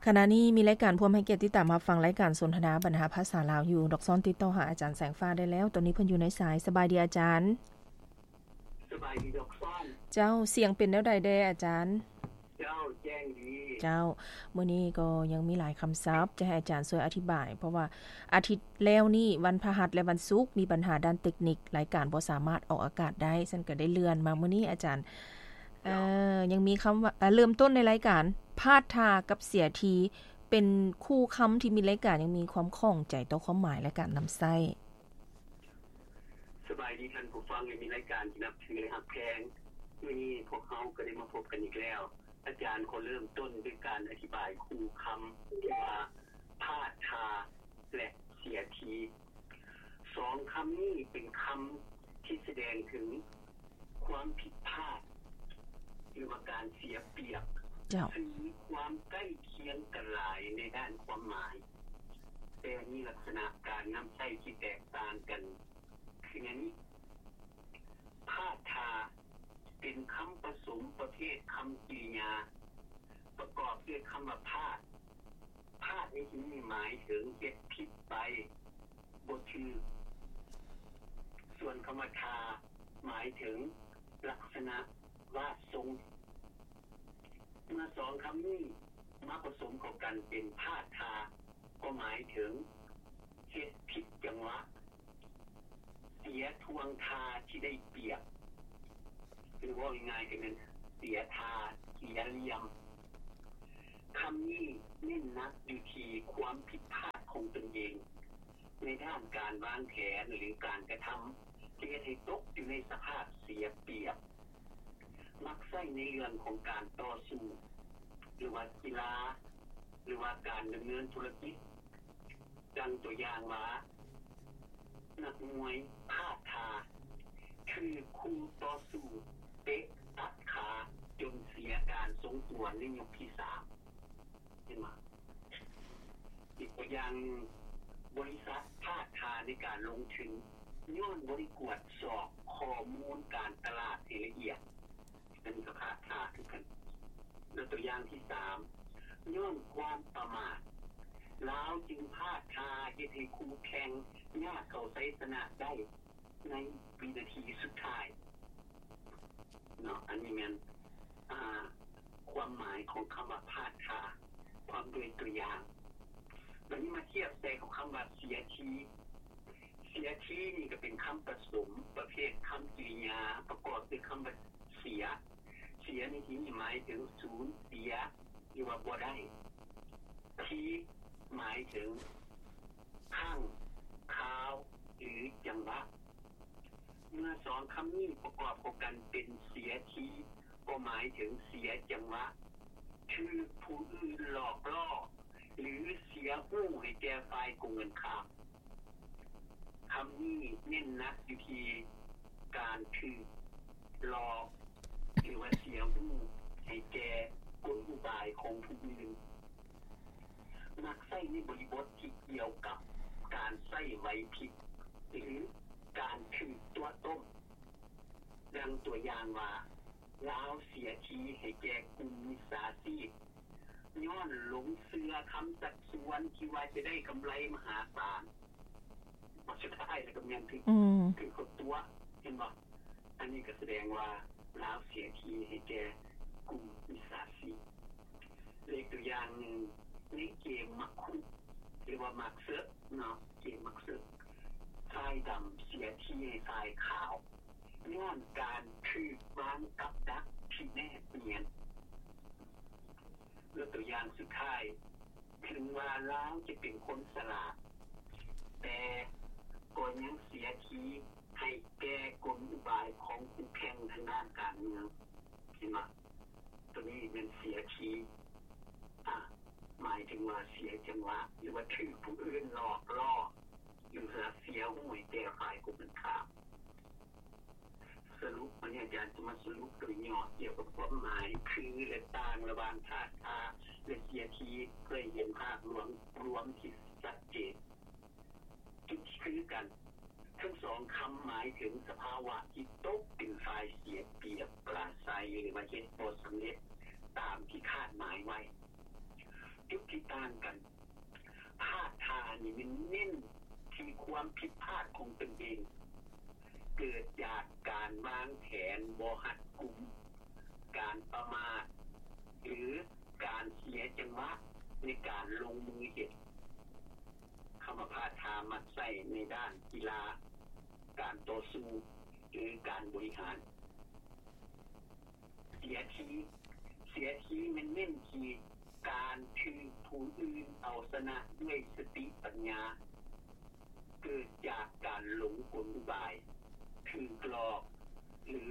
ຂະນະນີ້ມີລາຍການພວມໃຫ້ກຽດຕິດຕາມຮັບຟັງລາຍການສົນທະນາບັນຫາພາສາລາວຢູ່. ດອກຊອນຕິດຕໍ່ຫາອາຈານແສງຟ້າໄດ້ແລ້ວ. ຕອນນີ້ເພິ່ນຢູ່ໃນສາຍ. ສະບາຍດີອາຈານ. ສະບາຍດີດອກຊອນ. ເຈົ້າ, ສຽງເປັນແນວໃດແດ່ອາຈານ? ເຈົ້າ, ແຈ້ງດີ. ເຈົ້າ, ມື້ນີ້ກໍຍັງມີຫຼາຍຄຳສັບຈະໃຫ້ອາຈານຊ່ວຍອະທິບາຍ, ເພາະວ່າອາທິດແລ້ວນີ້ ວັນພະຫັດ ແລະ ວັນສຸກ ມີບັນຫາດ້ານເຕັກນິກ, ລາຍການບໍ່ສາມາດອອກອາກາດໄດ້, ຊັ້ນກໍໄດ້ເລື່ອນມາມື້ນີ້ອາຈານ. ເຈົ້າ. ເອີ, ຍັງມີຄຳວ່າ, ເອີ, ເລີ່ມຕົ້ນໃນລາຍການ ພາດທ່າກັບເສຍທີ ເປັນຄູ່ຄຳທີ່ມີລາຍການຍັງມີຄວາມຂ້ອງໃຈຕໍ່ຄວາມໝາຍ ແລະ ການນຳໃຊ້. ສະບາຍດີທ່ານຜູ້ຟັງ ແລະ ມີລາຍການທີ່ນັບຖື ແລະ ຮັກແພງ. ມື້ນີ້ພວກເຮົາກໍໄດ້ມາພົບກັນອີກແລ້ວ. ອາຈານຂໍເລີ່ມຕົ້ນດ້ວຍການອະທິບາຍຄູ່ຄຳທີ່ວ່າ ພາດທ່າ ແລະ ເສຍທີ. ສອງຄຳນີ້ເປັນຄຳທີ່ສະແດງເຖິງຄວາມຜິດພາດ ຫຼືວ່າການເສຍປຽບ, ເຈົ້າ. ຊຶ່ງມີຄວາມໃກ້ຄຽງກັນຫຼາຍໃນດ້ານຄວາມໝາຍ, ແຕ່ມີລັກສະນະການນຳໃຊ້ທີ່ແຕກຕ່າງກັນ. ຄືແນວນີ້, ພາດທ່າ ເປັນຄຳປະສົມປະເພດຄຳກິລິຍາ ປະກອບດ້ວຍຄຳວ່າ ພາດ. ພາດໃນທີ່ນີ້ໝາຍເຖິງເຮັດຜິດໄປ, ບໍ່ຖືກ. ສ່ວນຄຳວ່າ ທ່າ ໝາຍເຖິງລັກສະນະວາດຊົງ. ເມື່ອສອງຄຳນີ້ມາປະສົມເຂົ້າກັນເປັນ ພາດທ່າ ກໍໝາຍເຖິງເຮັດຜິດຈັງຫວະ, ເສຍທ່ວງທ່າທີ່ໄດ້ປຽບ, ຫຼືເວົ້າງ່າຍໆກໍແມ່ນເສຍທ່າ, ເສຍຫຼ່ຽມ. ຄຳນີ້ເນັ້ນໜັກຢູ່ທີ່ຄວາມຜິດພາດຂອງຕົນເອງ ໃນດ້ານການວາງແຜນ ຫຼື ການກະທຳ ທີ່ເຮັດໃຫ້ຕົກຢູ່ໃນສະພາບເສຍປຽບ. ມັກໃຊ້ໃນເລື່ອງຂອງການຕໍ່ສູ້ ຫຼືວ່າກິລາ ຫຼືວ່າການດຳເນີນທຸລະກິດ. ດັ່ງຕົວຢ່າງວ່າ ນັກມວຍພາດທ່າຖືກຄູ່ຕໍ່ສູ້ເຕະຕັດຂາຈົນເສຍການຊົງຕົວໃນຍົກທີສາມ. ເຫັນບໍ່? ອີກຕົວຢ່າງໜຶ່ງ, ບໍລິສັດພາດທ່າໃນການລົງທຶນ ຍ້ອນບໍ່ໄດ້ກວດສອບຂໍ້ມູນການຕະຫຼາດໃຫ້ລະອຽດ, ອັນນີ້ກໍພາດທ່າຄືກັນ. ແລະ ຕົວຢ່າງທີສາມ, ຍ້ອນຄວາມປະໝາດ, ລາວຈຶ່ງພາດທ່າເຮັດໃຫ້ຄູ່ແຂ່ງຍາດເຂົ້າໄຊຊະນະໄດ້ໃນວິນາທີສຸດທ້າຍ. ເນາະ, ອັນນີ້ແມ່ນ ອ່າ ຄວາມໝາຍຂອງຄຳວ່າພາດທ່າ ພ້ອມດ້ວຍຕົວຢ່າງ. ບັດນີ້ມາທຽບໃສ່ກັບຄຳວ່າເສຍທີ. ເສຍທີນີ້ກໍເປັນຄຳປະສົມປະເພດຄຳກິລິຍາ ປະກອບດ້ວຍຄຳວ່າເສຍ. ເສຍໃນທີ່ນີ້ໝາຍເຖິງສູນເສຍ ຫຼືວ່າບໍ່ໄດ້. ທີ ໝາຍເຖິງຄັ້ງ, ຄາວ ຫຼື ຈັງຫວະ. ເມື່ອສອງຄຳນີ້ປະກອບເຂົ້າກັນເປັນເສຍທີ ກໍໝາຍເຖິງເສຍຈັງຫວະ, ຖືກຜູ້ອື່ນຫຼອກລໍ້ ຫຼື ເສຍຮູ້ໃຫ້ແກ່ຝ່າຍກົງກັນຂ້າມ. ຄຳນີ້ເນັ້ນໜັກຢູ່ທີ່ການຖືກຫຼອກ ຫຼືວ່າເສຍຮູ້ໃຫ້ແກ່ກົນອຸບາຍຂອງຜູ້ອື່ນ. ມັກໃຊ້ໃນບໍລິບົດທີ່ກ່ຽວກັບການໃຊ້ໄຫວພິບ ຫຼື ການຖືກຕົວະຕົ້ມ. ດັ່ງຕົວຢ່າງວ່າ ລາວເສຍທີໃຫ້ແກ່ກຸ່ມມິດສາຊີບ ຍ້ອນຫຼົງເຊື່ອຄຳຊັກຊວນທີ່ວ່າຈະໄດ້ກຳໄລມະຫາສານ. ສຸດທ້າຍແລ້ວກໍແມ່ນຖືກ ອືມ ຖືກເຂົາຕົວະ, ເຫັນບໍ່? ອັນນີ້ກໍສະແດງວ່າລາວເສຍທີໃຫ້ແກ່ກຸ່ມມິດສາຊີບ. ແລະ ອີກຕົວຢ່າງໜຶ່ງ, ໃນເກມໝາກຄຸ ຫຼືວ່າໝາກເສິກເນາະ, ເກມໝາກເສິກ, ຝ່າຍດຳເສຍທີໃຫ້ຝ່າຍຂາວ ຍ້ອນການຖືກວາງກັບດັກທີ່ແນບນຽນ. ແລະ ຕົວຢ່າງສຸດທ້າຍ, ເຖິງວ່າລາວຈະເປັນຄົນສະຫຼາດ, ແຕ່ກໍຍັງເສຍທີໃຫ້ແກ່ກົນອຸບາຍຂອງຄູ່ແຂ່ງທາງດ້ານການເມືອງ. ເຫັນບໍ່? ຕົວນີ້ແມ່ນເສຍທີ, ອາ, ໝາຍເຖິງວ່າເສຍຈັງຫວະ ຫຼືວ່າຖືກຜູ້ອື່ນຫຼອກລໍ້ ຫຼືວ່າເສຍຫູໃຫ້ແກ່ຝ່າຍກົງກັນຂ້າມ. ສະຫຼຸບ, ວັນນີ້ອາຈານຈະມາສະຫຼຸບໂດຍຫຍໍ້ກ່ຽວກັບຄວາມໝາຍຄື ແລະ ຕ່າງລະຫວ່າງພາດທ່າ ແລະ ເສຍທີ ເພື່ອໃຫ້ເຫັນພາບລວມ, ລວມທີ່ຊັດເຈນ. ຈຸດທີ່ຄືກັນ, ທັງສອງຄຳໝາຍເຖິງສະພາວະທີ່ຕົກເປັນຝ່າຍເສຍປຽບ, ປລາໄຊ, ຫຼືວ່າເຮັດບໍ່ສຳເລັດຕາມທີ່ຄາດໝາຍໄວ້. ຈຸດທີ່ ນີ້ແມ່ນເນັ້ນທີ່ຄວາມຜິດພາດຂອງຕົນເອງ ເກີດຈາກການວາງແຜນບໍ່ຮັດກຸມ, ການປະໝາດ ຫຼື ການເສຍຈັງຫວະໃນການລົງມືເຮັດ. ຄຳວ່າພາດທ່າມັກໃຊ້ໃນດ້ານກິລາ, ການຕໍ່ສູ້ ຫຼື ການບໍລິຫານ. ເສຍທີ, ເສຍທີແມ່ນເນັ້ນທີ່ການຖືກຜູ້ອື່ນເອົາຊະນະດ້ວຍສະຕິປັນຍາ, ເກີດຈາກການຫຼົງກົນອຸບາຍ, ຖືກຫຼອກ ຫຼື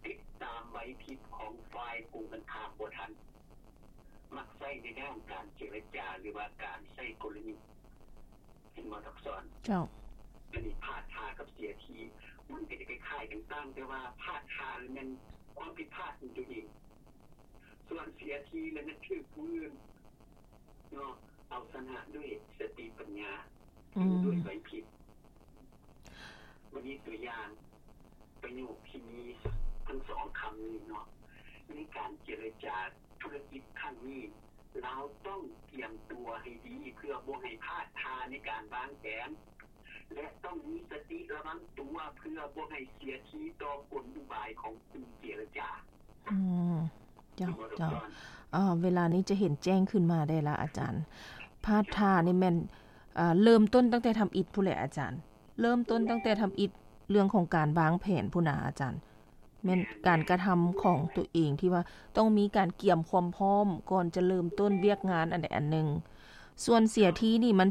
ຕິດຕາມໄຫວພິບຂອງຝ່າຍກົງກັນຂ້າມບໍ່ທັນ, ມັກໃຊ້ໃນດ້ານການເຈລະຈາ ຫຼືວ່າການໃຊ້ກົນລະຍຸດ. ເຫັນບໍ່ ທັກສອນ? ເຈົ້າ. ອັນນີ້ພາດທ່າກັບເສຍທີ ມັນກໍຈະຄ້າຍໆກັນ, ຕ່າງແຕ່ວ່າພາດທ່າແມ່ນຄວາມຜິດພາດຂອງຕົວເອງ, ສ່ວນເສຍທີແມ່ນຖືກຜູ້ອື່ນເນາະ ເອົາຊະນະດ້ວຍສະຕິປັນຍາ ອືມ ຫຼື ດ້ວຍໄຫວພິບ. ບັດນີ້ຕົວຢ່າງປະໂຫຍກທີ່ມີທັງສອງຄຳນີ້ເນາະ, ໃນການເຈລະຈາທຸລະກິດຄັ້ງນີ້ ລາວຕ້ອງກຽມຕົວໃຫ້ດີ ເພື່ອບໍ່ໃຫ້ພາດທ່າໃນການວາງແຜນ ແລະ ຕ້ອງມີສະຕິລະວັງຕົວ ເພື່ອບໍ່ໃຫ້ເສຍທີຕໍ່ກົນອຸບາຍຂອງຜູ້ເຈລະຈາ. ອືມ ເຈົ້າ ເຈົ້າ. ເອີ ເວລານີ້ຈະເຫັນແຈ້ງຂຶ້ນມາໄດ້ລະອາຈານ. ພາດທ່ານີ້ແມ່ນ ເອີ ເລີ່ມຕົ້ນຕັ້ງແຕ່ທຳອິດພຸ້ນແຫຼະອາຈານ, ເລີ່ມຕົ້ນຕັ້ງແຕ່ທຳອິດເລື່ອງຂອງການວາງແຜນພຸ້ນນະອາຈານ. ແມ່ນການກະທຳຂອງຕົວເອງທີ່ວ່າຕ້ອງມີການກຽມຄວາມພ້ອມກ່ອນຈະເລີ່ມຕົ້ນວຽກງານອັນໃດອັນໜຶ່ງ. ສ່ວນເສຍທີນີ້ມັນ